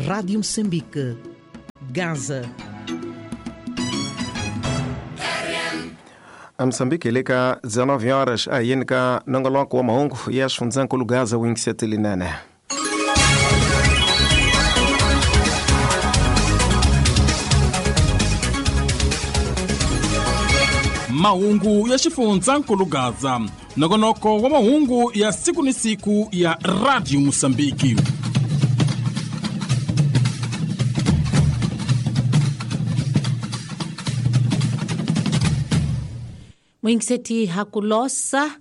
Rádio Moçambique, Gaza. A Moçambique hi le ka 19 horas a hi yeni ka nongoloko wa mahungu ya xifundzankulu Gaza wingisetelinene. Mahungu ya xifundzankulu Gaza, nongonoko wa mahungu ya siku ni siku ya Radio Mosambiki. Muyingiseti hakulosa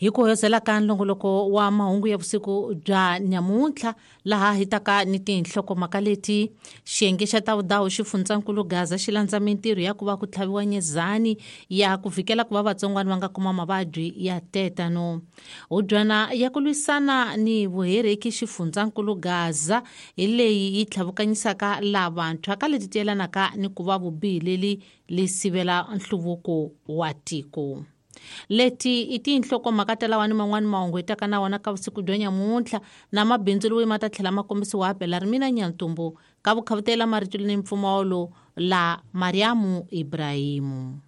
hi ku hoyozela ka nlongoloko wa mahungu ya vusiku bya nyamuntlha laha hi taka ni tinhlokomhaka leti xiyenge xa ta vudawu xifundzankulu Gaza xi landza mintirho ya ku va ku tlhaviwa nyezani ya ku vhikela ku va vatsongwana va nga kuma mavabyi ya tetano. Hubyana ya ku lwisana ni vuhereki xifundzankulu Gaza hi leyi yi tlhavukanyisaka lavantshwa ka leti tiyelanaka ni ku va vubihi leli li sivela nhluvuko wa tiko. Leti i tinhlokomhaka ta lawa ni man'wani mahungu hi taka na wona ka vusiku bya nyamuntlha na mabindzu loyi ma ta tlhela ma kombisiwa hapela ri mina Nyantumbu ka vukhavutela marito ni mpfumawulo la Mariamu Ibrahimu.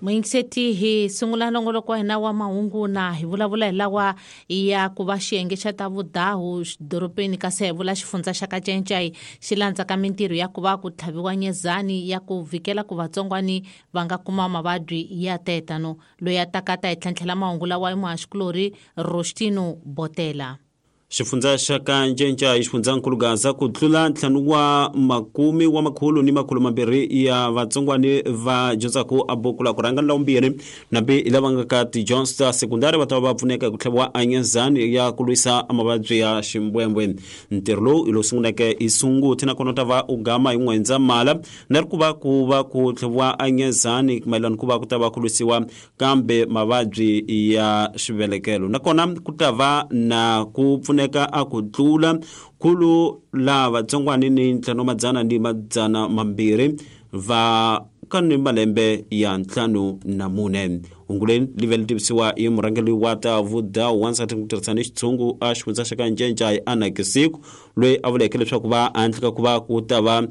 Muyingiseti hi sungula nongoloko wa hina wa mahungu na hi vulavula hi lawa ya ku va xiyenge xa ta vudahu dorobeni kasi hi vula xifundza xa Kacencai xi landzaka mintirho ya ku va ku tlhaviwa nyezani ya ku vhikela ku vatsongwani va nga kuma mavabyi ya tetano. Loyi a taka ta hi tlhantlhela mahungu lawa i muhaxikulorhi Rostino Botela. Xifundza xa Kanchencha xifundzankulu Gaza ku tlula ntlhanu wa makume wa makhulu ni makhulu mambirhi ya vatsongwani va dyondzaka a buku la ku rhanga la vumbirhi nambi lava nga ka tidyondzo ta sekundari va ta va pfuneka hi ku tlhaviwa anyezani ya ku lwisa mavabyi ya ximbwembwe. Ntirho lowu hi lowu sunguleke hi Sunguti nakona u ta va u gama hi N'wendzamhala na ri ku va ku va ku tlhaviwa anyezani mayelana ku va ku ta va ku lwisiwa kambe mavabyi ya xivelekelo nakona ku ta va na ku pfuneka a ku tlula khulu la vatsongwani ni ntlhanu madzana ni madzana mambirhi va ka ni malembe ya 54. Hungu leri li vele tivisiwa hi murhangeri wa ta vudawu wansati ku tirhisa ni xitshungu a xifundza xa Kanchencha Anna Kisiku loyi a vuleke leswaku va handle ka ku va ku ta va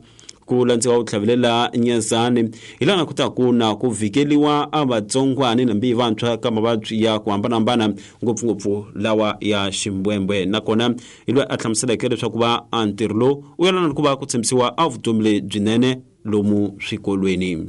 ku landziwa ku tlhavelela nyezani hi laha ku ta ku na ku vhikeliwa a vatsongwani nambi vantshwa ka mavabyi ya ku hambanahambana ngopfungopfu lawa ya ximbwembwe nakona hi loyi a hlamuseleke leswaku va a ntirho lowu u yelana ku va ku tshembisiwa a vutomi lebyinene lomu swikolweni.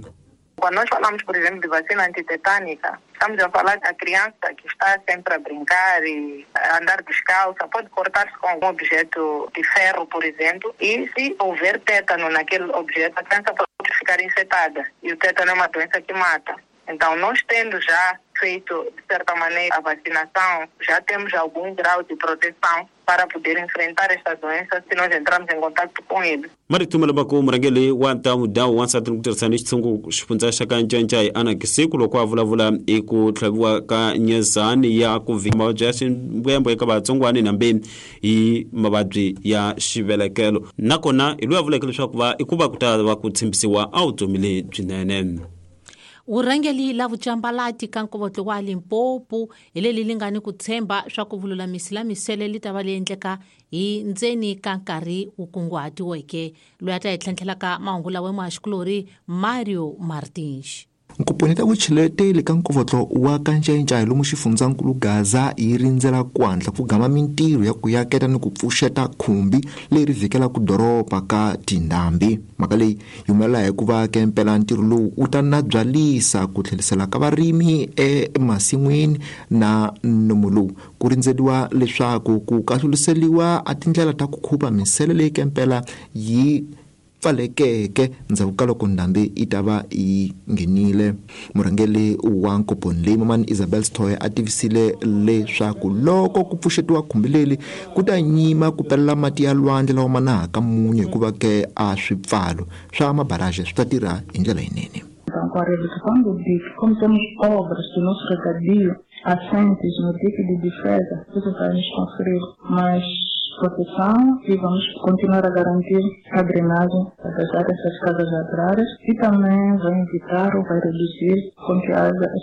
Quando nós falamos, por exemplo, de vacina antitetânica, estamos a falar da criança que está sempre a brincar e a andar descalça, pode cortar-se com algum objeto de ferro, por exemplo, e se houver tétano naquele objeto, a criança pode ficar infectada. E o tétano é uma doença que mata. Então, nós tendo já feito, de certa maneira, a vacinação, já temos algum grau de proteção para poder enfrentar esta doença se nós entrarmos em contato com ele. Maritumela Baku murhangeri wa ta vudawu wansati ku tirhisa ni xitshungu xifundza xa Kanchencha Anna Kisiku loko a vulavula hi ku tlhaviwa ka nyezani ya ku vhika mavabyi ya ximbwembwe eka vatsongwani nambi hi mavabyi ya xivelekelo nakona hi loyi a vuleke leswaku va i ku va ku ta va ku tshembisiwa a vutomi lebyinene. Vurhangeri la vucambalati ka nkovotlo wa Limpopo hi leli li nga ni ku tshemba swa ku vululamisi la misele li ta va li endleka hi ndzeni ka nkarhi wu kunguhatiweke. Loyi a ta hi tlhantlhelaka mahungu lawa muhaxikulorhi Mario Martins. Nkoponi ta vucheleteli ka nkovotlo wa Kanchencha lomu xifundzankulu Gaza yi rindzela ku hatla ku gama mintirho ya ku yaketa ni ku pfuxeta khumbi leri vhikelaka doroba ka tindhambi. Mhaka leyi yi humelela hikuva kempela ntirho lowu wu ta nabyalisa ku tlherisela ka varimi emasin'wini na nomu lowu ku rindzeriwa leswaku ku kahluliseliwa a tindlela ta ku khupa misele leyi kempela yi pfalekeke ndzhaku ka loko ndhambi yi ta va yi nghenile. Murhangeri wa nkoponi leyi Mamani Isabel Stoy a tivisile leswaku loko ku pfuxetiwa khumbi leri ku ta nyima ku pelela mati ya lwandle lawa ma nahaka munyu hikuva ke a swipfalo swa mabaraje swi ta tirha hi ndlela yinene. Então, com a redução do dique, como temos obras do nosso regadio assentes no dique de defesa, isso vai nos conferir mais proteção e vamos continuar a garantir a drenagem das áreas das casas agrárias e também vai evitar ou vai reduzir com que haja